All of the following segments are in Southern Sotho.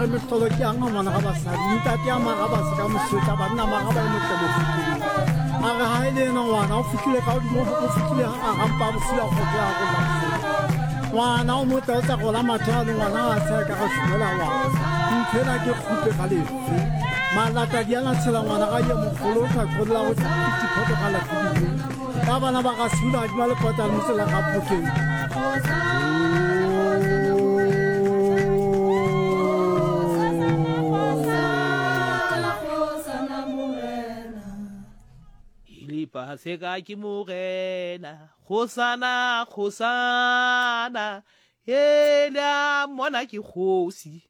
re mehlolo ke yang ngwana ga basadi ntate ya mara ba se ka mosotla banna mara ba e motle mofuteng a re ha e le ena ngwana o fihlile ka godimo o fihlile ga rampa bosula go ya go la ngwana o motle o tsa gola mathe a le ngwana a tsaya ka ga šumela ngwana nthwena ke kgupe ga lefe malata di ana tshela ngwana ga ye mogolo o tla kgolela go diphoto ga lafidile ka bana ba ga sula di ba le kota le mosela ga phokeng. Paseka ke Morena, kgosana, kgosana, e le a mmona ke kgosi.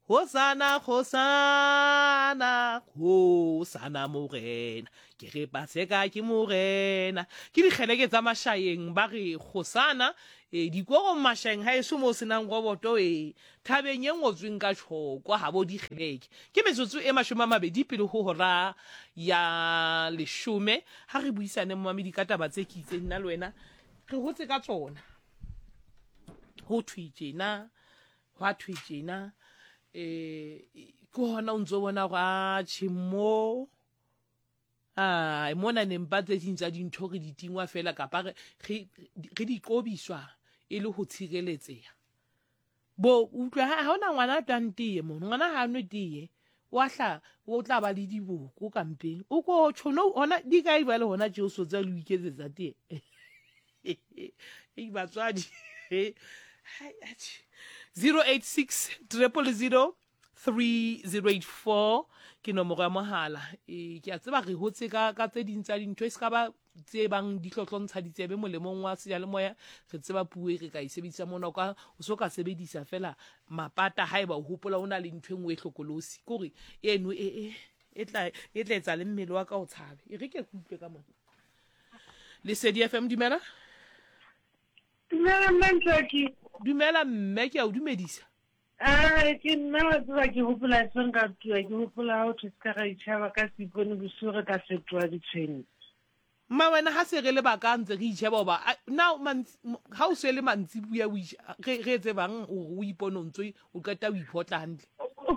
Hosana, hosana, hosana Morena. Ke re Paseka ke Morena. Ke dikgeleke tsa Mashaeng ba re hosana. E, dikorong Mashaeng ha eso mo senang roboto e thabeng e ngotsweng ka tjhoko habo dikgeleke. Ke metsotso e 20 pele ho hora ya leshome. Ha re buisane momamedi ka taba tse ke itseng nna le wena re hotse ka tsona. Ho thwe tjena Hwa thwe tjena um ke hona o ntso bona gore atjhe mo ai mona nempa tse ding tsa dintho re di tingwa fela kapa re re di qobiswa e le ho tshireletseha. Bo utlwa ha hona ngwana a twang teye mono, ngwana ha a nwe teye wa hla o tla ba le diboko ka mpeng. O ko tjho no hona di kae jwale hona tje o so tsa le o iketsetsa teye. Ei batswadi. 086 000 3084 ke nomoro ya mohala. E ke a tseba re hotse ka ka tse ding tsa dintho e se ka ba tse bang di hlohlontsha ditsebe molemong wa seyalemoya. Re tseba puo e re ka e sebedisa mona o ka o so ka sebedisa fela mapata haeba o hopola o na le ntho e nngwe e hlokolosi. Ke hore eno e e e tla e tla etsa le mmele wa ka o tshabe. E re ke ke utlwe ka mona. Lesedi FM dumela. Dumela mme Ntswaki. Dumela mme ke a o dumedisa. Ah, ke nna wa tseba ke hopola e seng ka tua ke hopola ha o thwe se ka ra itjhaba ka seipone bosiu re tla fetoha ditshwene. Mma wena ha se re le baka ntse re itjheba hoba na ha o se le mantsibuya o re re etse bang o ipone o ntso O qeta o iphotla hantle.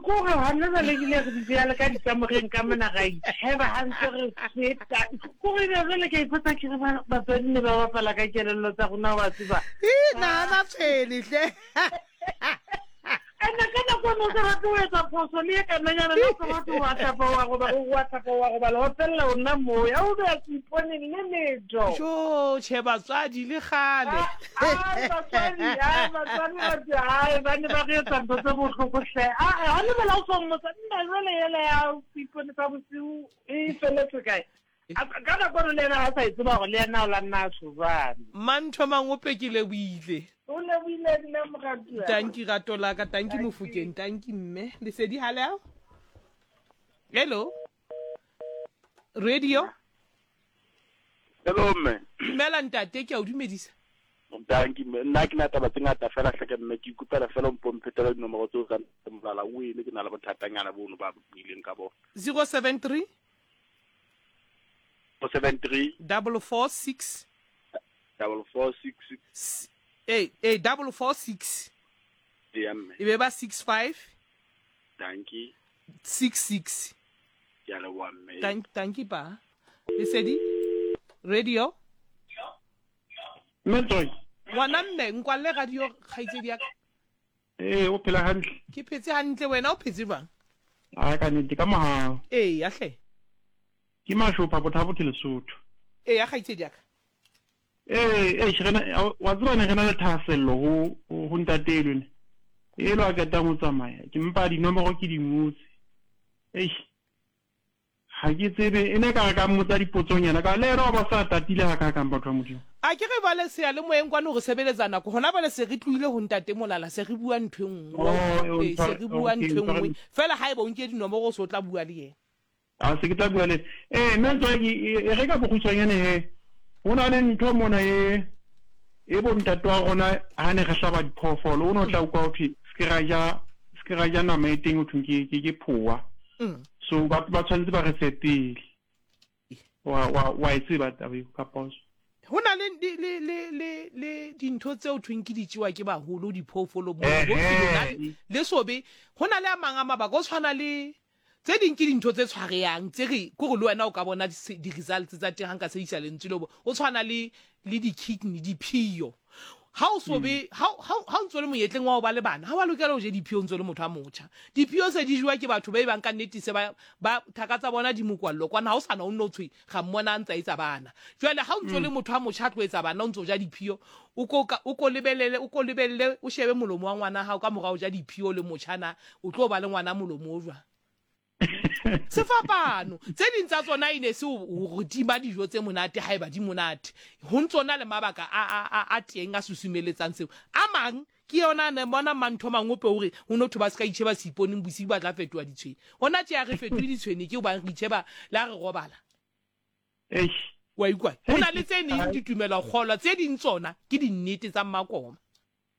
Kore hona jwale ebile re dutse jwalo ka dikamoreng ka mona ra itsheba ha ntse re feta. Kore ebe jwale ke a ipotsa ke re batswadi ne ba bapala ka kelello tsa rona wa tseba. Ii, nahana tshwene hle. Ene ka nako eno o sa batle ho etsa phoso le e kananyana le o sa batle wa hlapa wa robala wa hlapa wa robala wa fella o nna moo ya o beya seiponeng le letho. Jo, tjhe batswadi le kgale. Ai, batswadi, ai, batswadi ba tse, ai, ba ne ba re etsa ntho tse bohloko hle. Ai, ha le bela o so mmotsa, nna jwale ele ya seipone sa bosiu e feletse kae? Ka nako eno le yena ha sa e tseba hore le yena o la nna a tjho jwalo. Mantho Mangope ke lebohile. O lebohile nna moratuwa. Tanki rato la ka, tanki Mofokeng, tanki mme. Lesedi ha le ao? Hello. Radio. Hello mme. Dumela ntate, ke a o dumedisa. Danki mme, nna ke na taba tse ngata fela hleke mme, ke ikopela fela o mpo mphetela dinomoro tseo tsa molala o ene ke na le bothatanyana bono ba buileng ka bona. 073 073 446 446 eh eh 446 ya mme. E be ba 65 Danki. 66. Ke a leboha mme. Thank danki pa. Lesedi Radio. Mme Tsoi. Ngwana mme nkwalle radio kgaitsedi ya ka. Ee, o phela hantle. Ke phetse hantle wena o phetse jwang? A ka nnete ka mohau. Ee, ya hle. Ke Mashopha Bothabothe Lesotho. Ee, ya kgaitsedi ya ka. Ee, eish, re na, wa tseba ne re na le thahasello ho ho ntate elwe ne. Elo a qetang ho tsamaya, ke mpa dinomoro ke di ngotse. Eish. Ga ke tsebe, e ne ka re ka mmotsa dipotsonyana, ka le ena wa ba sa tatile ga kakang batho ba Modimo. A ke re bale seyalemoyeng kwano re sebeletsa nako, hona bale se re tlohile ho ntate Molala, se re bua ntho e nngwe. Oh, Ee, se re bua ntho e nngwe. Fela haeba o nke dinomoro o se o tla bua le yena. A se ke tla bua le ee mme ntwa ke e re ka bokgutshwanyane he ho na le ntho mona e e bo ntate wa rona ha ne re hlaba diphoofolo o ne o tla utlwa ho thwe se ke ra ja se ke ra ja nama e teng ho thweng ke ke ke phowa so ba ba tshwanetse ba re fe pele wa wa wa e tseba taba eo kapa o Ho na le le le le le dintho tseo thweng ke di tšewa ke baholo diphoofolo mo bo lona le sobe. Ho na le a mang a mabaka o tshwana le tse ding ke dintho tse tshwareyang tse re ko re le wena o ka bona di-results tsa teng ha nka sebedisa lentswe leo o tshwana le le di-kidney diphio. Ha o so be ha ha ha o ntso le monyetleng wa ho ba le bana ha wa lokela ho je diphio o ntso le motho a motjha. Diphio se di jewa ke batho ba e bang ka nnete se ba ba thaka tsa bona di mokwallo kwana ha o sana o nno tshwe ga mmona a ntsa etsa bana. Jwale ha o ntso le motho a motjha a tlo etsa bana o ntso ja diphio o ko ka o ko lebelele o ko lebelle o shebe molomo wa ngwana hao ka mora o ja diphio le motjha na o tlo ba le ngwana molomo o jwang. Sefapano. Tse ding tsa tsona e ne se ho re tima dijo tse monate haeba di monate. Ho ntso na le mabaka a, a, a, a teng a susumeletsang seo. A mang ke yona ne bona mantho mangope hore ho no thwe ba se ka itjheba seiponeng bosiu ba tla fetoha ditshwene. Hona tje ha re fetohe ditshwene ke hobane re itjheba le ha re robala. Eish. Wa ikwa? Ho na le tse neng ditumelo kgolwa, tse ding tsona ke dinnete tsa mmakoma.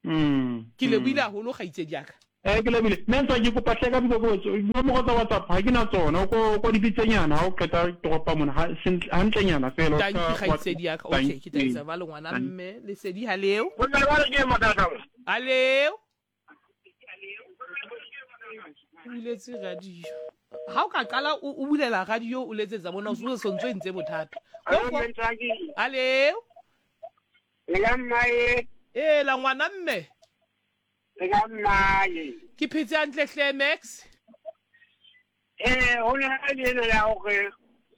Mm. Ke lebohile haholo kgaitsedi ya ka. Eh ke lebile. Mme ntse ke kopa hle ka boikokobetso. Dinomoro tsa WhatsApp ha ke na tsona. O ko ko di bitsenyana ha o qeta toropa mona ha sentle hantlenyana fela. Thank you kgaitsedi ya ka. Okay, ke tla etsa jwalo ngwana mme. Lesedi ha leo. Ha leo. O buletse radio. Ha o ka qala o bulela radio o letsetsa mona o se o ntso entse bothata. Ha leo. Le ka mmae. Ee, la ngwana mme. Le ka mmae. Ke phetse hantle hle Max. Eh, ho na le ena ya hore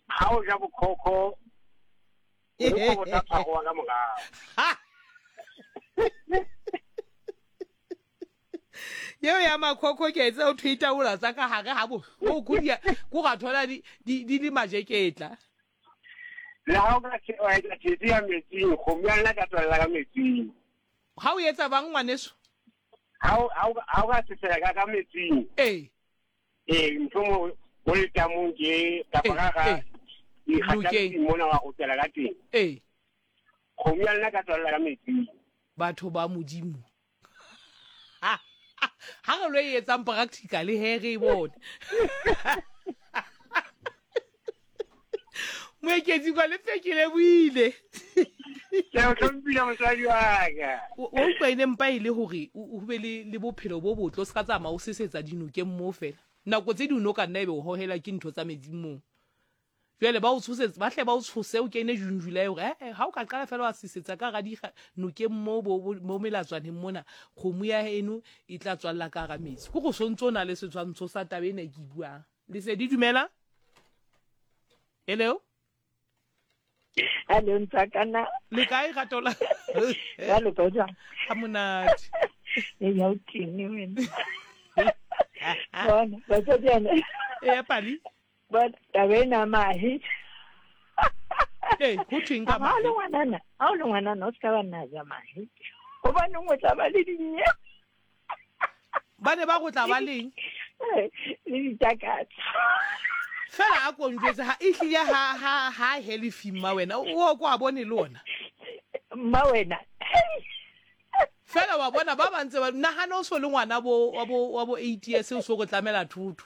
ha o ja bokhokho o go tla tshwaroa ka morao. Yeo ya makhokho ke etsa o thwe itaola tsa ka hare ha bohloko di ko ga thola di di le majeketla. Le ha o ka wa etsa thetsi ya metsing, kgomo ya nna ka tswella ka metsing. Ha o etsa bang ngwaneso? Ha o ka sesela ka ka metsing. Ee. Ee, mohlomong o letamong ke kapa ka ga dikgata mona wa go tswela ka teng. Ee. Kgomo ya nna ka tswella ka metsing. Batho ba Modimo. Ha re lo e etsang practical he re e bone. Moeketsi kwa le fekile buile. Ke o hlomphile mosadi wa ka. O utlwa e ne mpa e le hore o be le le bophelo bo botle o se ka tsamaya o sesetsa dinokeng moo fela. Nako tse ding o ka nna ebe o hohela ke ntho tsa metsing moo. Jwale ba o tshosetse, ba hle ba o tshose o kene June July hore eh, eh ha o ka qala fela wa sesetsa ka hara dinokeng mo mo melatswaneng mona, kgomo ya heno e tla tswalla ka hara metsi. Ke go sontse o na le setshwantsho sa taba ena e ke e buang. Lesedi dumela. Hello. Hello ntsakana. Le kae ratola? Ba lo ka jwang? Ha monate. E ya o tene wena. Bona, batswadi ana. E ya pali. Bona taba ena mahe. Ee, ho thweng ka mahe? Ha o le ngwanana, ha o le ngwanana o se ka ba nna ja mahe. Hobaneng o tla ba le dinye. Ba ne ba go tla ba leng? Le ditakatso. Fela a ko njwetse ha e hlile ha ha ha helefi mma wena o ko a bone le ona. Mma wena. Fela wa bona ba ba ntse ba nahana o so le ngwana bo wa bo wa bo 8 years o so go tlamela thotho.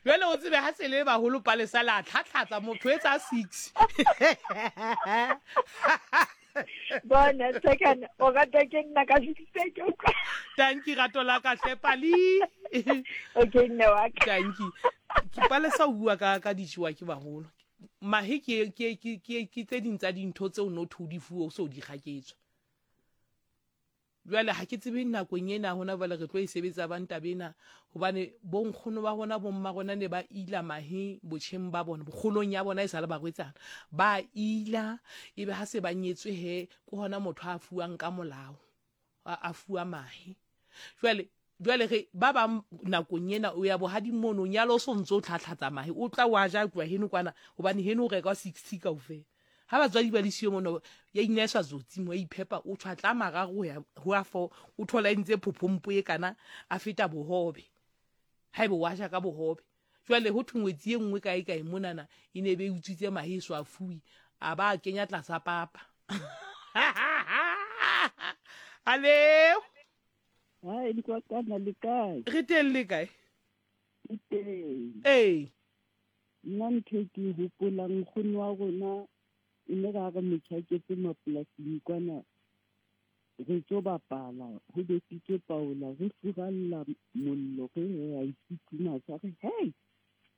Jwale o tsebe ha se le baholo palesa la tlhatlhatsa motho etsa 6. Bona second o rata ke nna ka sixpeke o kwa. Tanki rato la ka hle pali. Okay nne wa ka. Tanki. Ke palesa o bua ka ka dijewa ke baholo. Mahe ke ke ke ke ke tse ding tsa dintho tseo no thwe o di fuwe o so di kgaketswa. Jwale ha ke tsebe nakong ena hona jwale re tlo e sebetsa bang taba ena hobane bonkgono ba rona bomma rona ne ba ila mahe botjheng ba bona bokgolong ya bona e sa le barwetsana ba ila ebe ha se ba nyetswe he ke hona motho a fuwang ka molao a fuwa mahe jwale Jwale re ba bang nakong ena o ya bohading mono, o nyala o so ntse o tlhatlhatsa mahe, o tla wa ja tloha heno kwana, hobane heno o rekwa 60 kaofela. Ha batswadi ba le siyo mono, ya ineswa tsotsi mo, ya iphepa, o tjhwatla a mararo ho ya ho a four, o thola e ntse phophompo e kana, a feta bohobe. Haebe wa ja ka bohobe. Jwale ho thwe ngwetsi e nngwe kae kae monana e ne be e utswitse mahe e so a fuwe, a ba a kenya tlasa papa. Aleo! Hai, Nkwakana le kae? Re teng le kae? Ke teng. Ee. Nna ntho e ke e hopolang nkgono wa rona e ne ra re motjhaketse mapolasing kwana re tlo bapala ho besitswe paola re furalla mollo re re a e futhumatsa re hei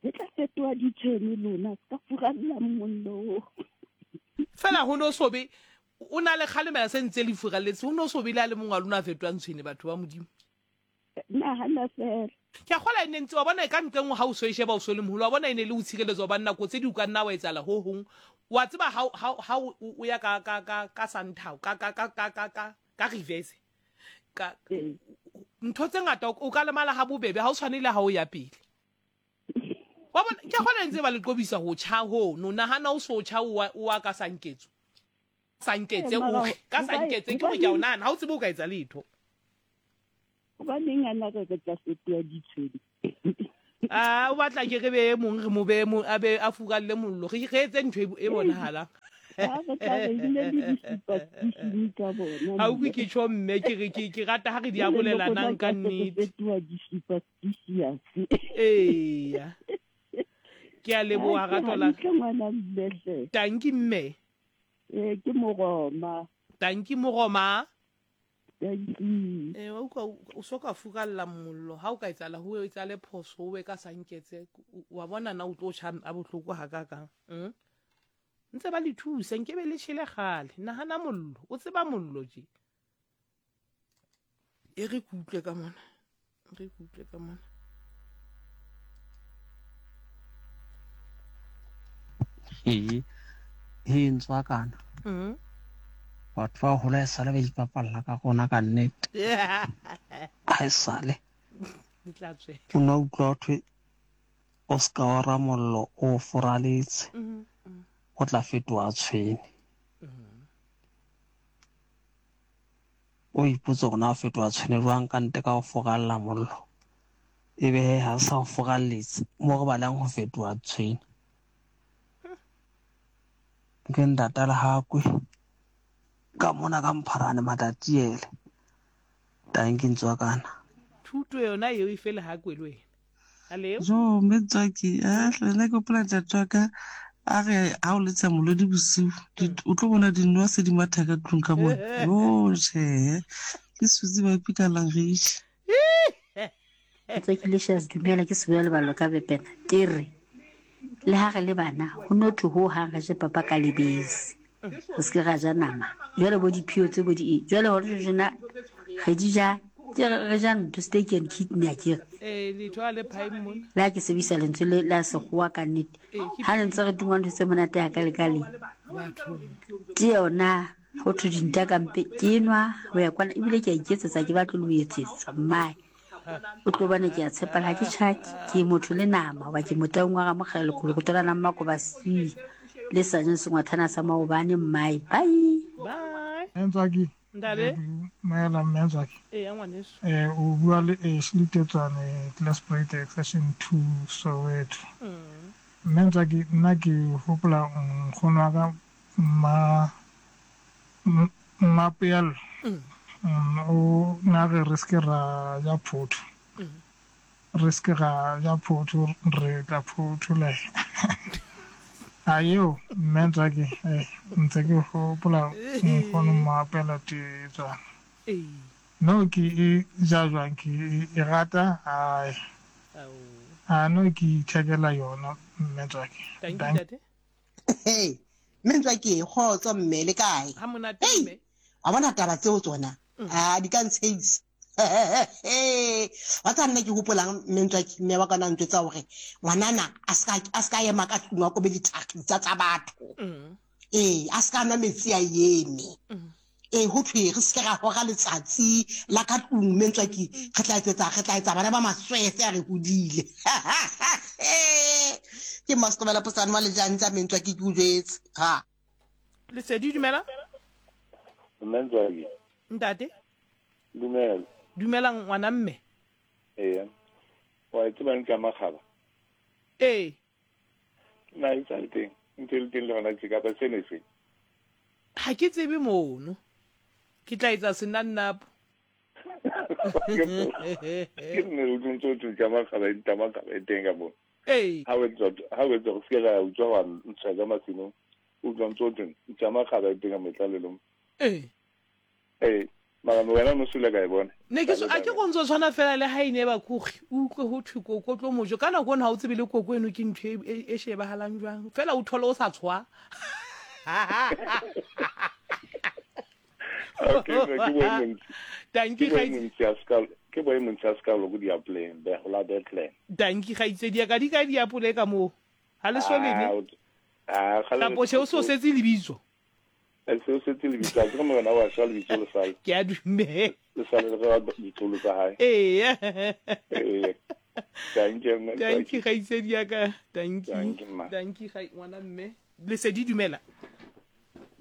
re tla fetoha ditshwene lona se ka furalla mollo. Fela ho no so be o na le kgalemela se ntse le furalletse ho no so be le a le mongwe wa lona a fetohang tshwene batho ba Modimo. Nahana fela. Ke a kgola e ne ntse wa bona e ka ntle nngwe ha o so e sheba o so le moholo wa bona e ne le o tshireletsa hobane nako tse di o ka nna wa etsahala ho hong wa tseba ha ha ha o ya ka ka ka ka santhao ka ka ka ka ka ka ka reverse ka ntho tse ngata o ka lemala ha bobebe ha o tshwane le ha o ya pele wa bona ke a kgola e ntse ba le qobisa ho tjha ho no nahana o so tjha o wa ka sanketso sanketse o ka sanketse ke gore ke a o nahana ha o tsebe o ka etsa letho Hobaneng a na re re tla fetoha ditshwene? A o batla ke re be e mong re mo be mo a be a furalle mollo re re etse ntho e bonahalang. A re tla re bile le di-superstition tsa bona. A utlwe ke tjho mme ke re ke ke rata ha re di arolelanang ka nnete. Fetoha di-superstitious. Eya. Ke a leboha rato la. Hantle ngwana mme hle. Tanki mme. Eh ke Moroma. Tanki Moroma. Dankie. Ee, wa utlwa o so ka furalla mollo ha o ka etsala ho etsale phoso o be ka sanketse wa bona na o tlo tjha a bohloko ha ka kang mm? Ntse ba le thusa nke be le tjhele kgale nahana mollo o tseba mollo je e re ke utlwe ka mona re ke utlwe ka mona Ee, he ntswakana. Mm. Batho ba hola e sale ba ipapalla ka rona ka nnete. Ha e sale. Di tla tswela. O ne utlwa ho thwe o ska ora mollo o furaletse. Mm, mm. O tla fetoha tshwene. Mm. O ipotse hore na o fetoha tshwene jwang ka ntle ka ho furalla mollo. Ebe he ha sa o furalletse mo re balang ho fetoha tshwene. Ke ntata Lehakwe ka mona ka Mpharane Matatiele. Tanki Ntswakana. Thuto yona eo e fe Lehakwe le wena. Aleo. Jo, mme Ntswaki, a hle nna ke gopola ntate wa ka a re ha o letsa molodi bosiu, o tlo bona dinowa se di matha ka tlung ka mona. Jo, tjhe, ke Suzy ba pika langage. Ntswakilicious dumela ke Seboya Lebalo ka Bepena ke re le ha re le bana ho no thwe ho hang re je papa ka lebese re se ke ra ja nama jwale bo diphio tse bo di jwale hore jena re di ja ke re ja ntho steak and kidney a kere ee letho a le phae mona le ha ke sebedisa lentswe le la sekgowa ka nnete ha le ntse re tungwa ntho tse monate ya ka le ka le ke yona ho thwe dinta ka mpe ke nwa ho ya kwana ebile ke a iketsetsa ke batle le ho etsetswa mmae o tlo bone ke a tshepala ha ke tjhaki ke motho le nama hoba ke motaung wa ramokgela lekolokoto la nammakoba c le sa jeng sengwathana sa maobane mmae bye bye Ntswaki ntate Maela mme Ntswaki ee ngwaneso eh o bua le Ashley Tetswane Klesprate Extension 2 Soweto mme Ntswaki nna ke hopola nkgono wa ka mma Mmapeelo o ne a re re se ke ra ja photho, re se ke ra ja photho, re tla photholega. A eo mme Ntswaki ntse ke gopola nkgono Mmapeelo Tetswana. No ke e ja jwang ke e rata ae. A no ke ithekela yona mme Ntswaki. Dankie. Hey, mme Ntswaki, kgotso mme, le kae? Ha monate Hey, mme. wa bona taba tseo tsona a di ka ntshehisa. Wa tseba nna ke hopolang mme Ntswaki, mme wa ka na ntjwetsa hore ngwanana a ska a ska ema ka tlung a kobe dithakgisa tsa batho. Ee, a ska nwa metsi a eme. Ee, ho thwe re seke ra hora letsatsi la ka tlung mme Ntswaki re tla etsetsa re tla etsa bana ba maswese a re hodile. Ke Mmasitobela Posane wa Lejantja mme Ntswaki ke o jwetse. Ha. Lesedi dumela. Mme Ntswaki. Ntate. Dumela. Dumela ngwana mme. Ee. Wa e tseba ntlo ya makgaba? Ee. Na e sa le teng? Ntse e le teng le gona tje kapa sene se? Ha ke tsebe mono. Ke tla etsa senannapo. Ke nne o ntse o tla makgaba e makgaba e teng ka mo. Ee. Ha o etsa ha o etsa go se ka utswa wa ntsha ka masimong. O utlwa ntse o teng ntša makgaba e teng ka motlalelong. Ee. Ee. Mara wena no sule ka e bona. Ne ke a ke go ntse tshwana fela le ha ine ba kugi o utlwe ho thwe koko tlo mojo ka nako eno ha o tsebe le koko eno ke ntho e shebahalang jwang fela o thole o sa tshwa. Okay, ke boemong. Danki ga ke boemong tsa sekalo go diapoleng be go la Bethlehem. Danki ga itse dia ka di ka diapole ka mo. Ha le so lene. Ah, ga le so so setse lebitso. Se o setse lebitso, a ke re morena wa shwa lebitso le sale. Ke a dumela. Le sale le re ditlolo tsa hae. Ee. Ee. Thank you, mme. Thank you, kgaitsedi ya ka. Thank you. Thank you, mma. Thank you, ngwana mme. Lesedi dumela.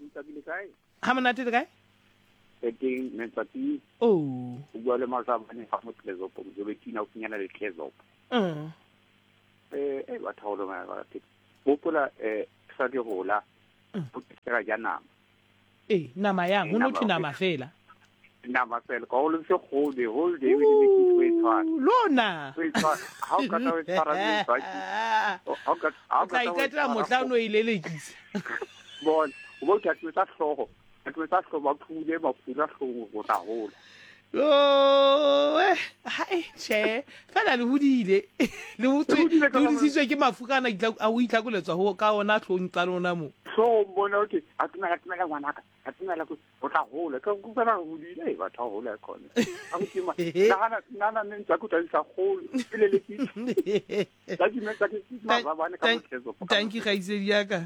Ntsakile kae? Ha monate le kae? E teng Mentsatsi. Oh. O bua le Mazabane fa mo Tlezopo, Mojobekina o finyana le Tlezopo. Eh batho ba lona ba te. Hopola eh sa ke hola. O tsela ja nama. Eh, nama yang, ho no thwe nama fela. Nama fela, ka o le se gole, whole day we di ke twe tshwana. Lona. Twe tshwana. Ha o ka tla tshwara le tswaki. Ha o ka ha o ka ikatela motla no e lelekisa. Bon, o bo tla tsa hlogo. Tla tsa hlogo ba phule ba phula hlogo go tla hola. Oh, hai, che. Fela le hodile. Le hodisitswe ke mafu kana a o itlhakoletswa ho ka ona hlong tsa lona mo. So bona okay, a tumela tumela ngwanaka, a tumela go o tla hola. Ka go tsena hodile e batho hola khona. A go tima. Nahana nana ne ntse go tla isa golo. Pele le ke. Tla ke metsa ke mazabane ka mothetso. Thank you gaitsedi ya ka.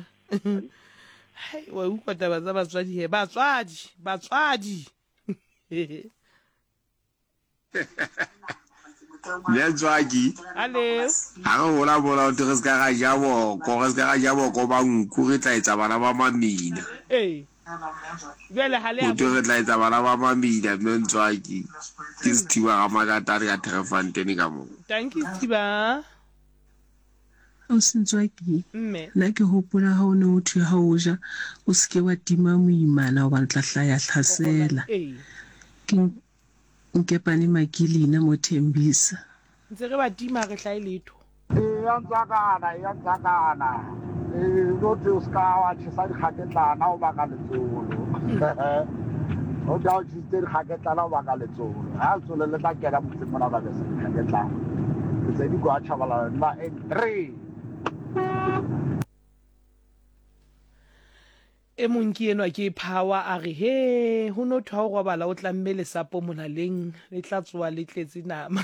Hai, wa utlwa taba tsa batswadi he. Batswadi, batswadi. Letswaki Hello. ga re gola mola o re se ka ga ja boko re se ka ga ja boko ba nku re tla etsa bana ba mamina Ee. Bjale ga le o re tla etsa bana ba mamina mme Ntswaki ke Sethiba ga Makatane ka Terrefontein ka mo. Thank you Sethiba. Ausi Ntswaki, Mme. nna ke hopola ha o ne o thwe ha o ja o se ke wa tima moimana hobane tla hlaya hlasela. Ee. Ke Nkepane Makilina mo Thembisa. Ntse re ba tima re hlae letho. Eya ntswakana, eya ntswakana. Ee, no thwe o se ka wa tjhesa dikgaketlana o baka letsolo. O tla o tjhesitse dikgaketlana o baka letsolo. Ha letsolo le tla kena motseng mona ba besa dikgaketlana. Ke tse di kwa Tshabalala nna N3. E mong ke enwa ke Power a re he ho no thwe ha o robala o tlamme lesapo molaleng le tla tsoa le tletse nama.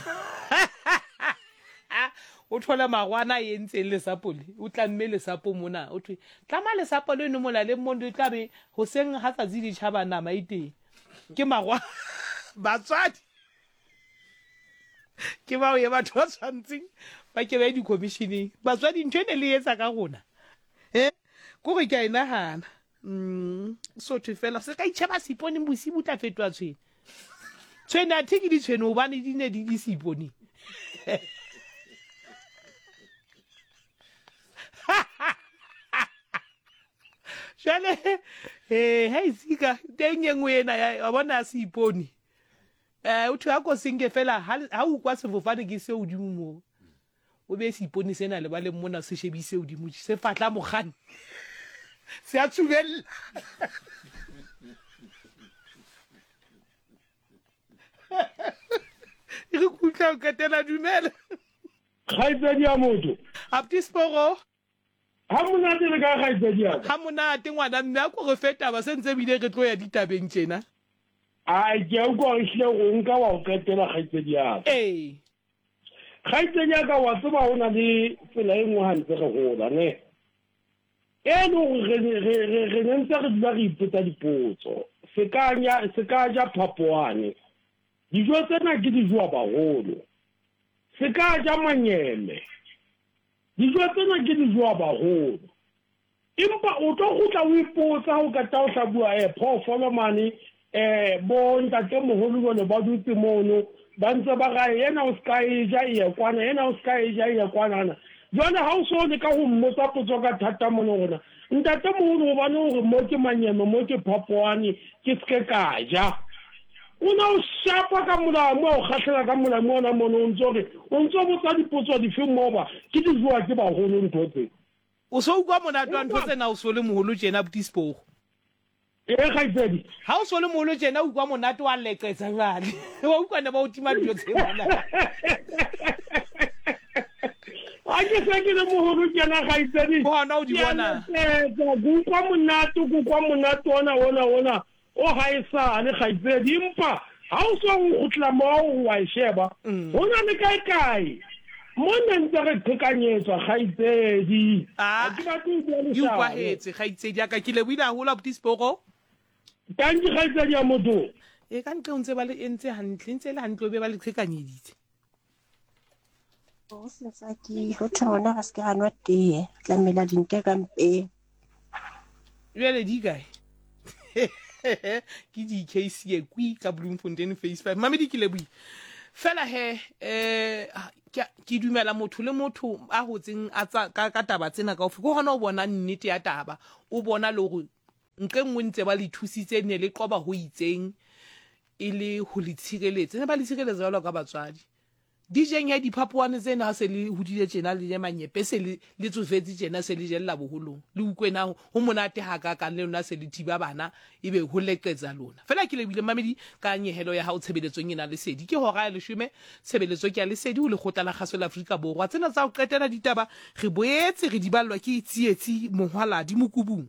O thola magwana a entseng lesapo le o tlamme lesapo mona o thwe tlama lesapo leno molaleng mo le tla be hoseng ha tsatsi le tjhaba nama e teng. Ke magwa batswadi ke bao ye batho ba tshwantseng ba ke ba ye di-commissioneng. Batswadi ntho e ne le etsa ka rona. Eh kore ke a e nagana. So thwe fela se ka itšheba seipone bosibu tla fetoa tshwene. Tshwene a the ke ditshwene hobane di ne di le seiponeng. Jwale eh ha isika teng e nngwe ena ya wa bona ya seipone. Eh o thwe ha ko senke fela ha o kwa sefofane ke se hodimo moo. O be seipone sena lebaleng mona se shebise hodimo se fatla mokganni. Se a tsubella. Re kutla o qetela dumela. Kgaitsedi ya motho. Apti Sporo. Ha monate le ka kgaitsedi ya ka. Ha monate ngwana mme a ko re fe taba se ntse bile re tlo ya ditabeng tjena. Ai ke a utlwa ehlile go nka wa o qetela kgaitsedi ya ka. Ee. Kgaitsedi ya ka wa tseba ho na le tsela e nngwe ha ntse re hola ne. E le hore re ne ntse re dula re ipotsa dipotso. Se ka nya se ka ja phapoane. Dijo tsena ke dijo baholo. Se ka ja manyeme. Dijo tsena ke dijo baholo. Empa o tlo kgutla o ipotsa ha o qeta ho hlabuwa phoofolo mane bo ntatemoholo jwale ba dutse mono ba ntse ba ra ena o ska e ja e ye kwana ena o ska e ja e ye kwanana. Jwale ha o so leka ho mmotsa potso ka thata mono rona ntatemoholo hobane hore mo ke manyeme mo ke phapoane ke ske ka ja. O ne o shapa ka molamu, a o kgahlela ka molamu ona mono, o ntso re, o ntso botsa dipotso dife moba, ke di jowa ke baholo ntho tse. O so ukwa monate wa ntho tsena o so le moholo tjena abuti Spogo. Ee kgaitsedi. Ha o so le moholo tjena o ukwa monate wa leqetsa jwale. Wa utlwa ne ba o tima dijo tse mona. Ha ke se ke le moholo tjena kgaitsedi. Ke hona o di bona. Ke a leqetsa, ke utlwa monate, ke utlwa monate ona ona ona. O ga e sale, kgaitsedi, empa ha o so o kgutlela moo o a e sheba, ho na le kae kae mo ne ntse re qhekanyetswa, kgaitsedi. Ha ke batle ho bua Di leshano. utlwahetse, kgaitsedi ya ka. Ke lebohile haholo, abuti Sepoko. Tanki, kgaitsedi ya motho. E ka ntle o ntse ba le entse hantle, e ntse e le hantle o be ba le qhekanyeditse. Go setsaki go thwe gona ga se ke ga nwa tee tlamela dinte ka mpeng. Bjale di kae? Ke DKC kwi ka Bloemfontein phase 5. Mamedi ke lebohile. Fela he eh ke dumela motho le motho a hotseng a tsa ka, ka taba tsena kaofela ke hona o bona nnete ya taba o bona le hore nqe nngwe ntse ba le thusitse ne le qoba ho itseng e le ho le tshireletsa ne ba le tshireletsa jwalo ka batswadi Di jeng he diphapoane tsena ha se le hodile tjena le je manyepe se le le tsofetse tjena se le jella boholong le utlwe na ho monate hakakang le lona se le thiba bana ebe ho leqetsa lona fela ke lebohile mmamedi ka nyehelo ya hao tshebeletsong ena lesedi ke hora ya leshome tshebeletso ke ya lesedi ho lekgotla la kgaso la Afrika Borwa tsena tsa ho qetela ditaba re boetse re di ballwa ke Tsietsi Mohwaladi Mokubung.